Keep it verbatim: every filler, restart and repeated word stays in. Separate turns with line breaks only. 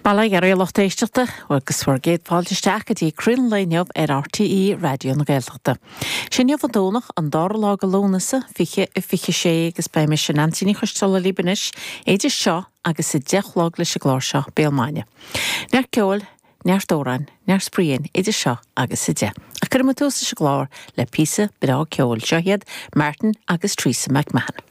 Bail ó Dhia oraibh a lucht éisteachta agus bhur gcéad fáilte isteach go dtí Croí an Lae inniu ar RTÉ Raidió na Gaeltachta. Sé inniu an Domhnach an dara lá de Lúnasa fiche a fiche sé agus beidh mise Neansaí Ní Choisteala libh anois idir seo agus a deich a chlog leis an gclár seo Béal Maidine. Neart ceoil, neart amhrán, neart spraoi idir seo agus a deich. Ach cuirfidh muid tús leis an gclár le píosa breá ceoil seo iad Martin agus Teresa McMahon.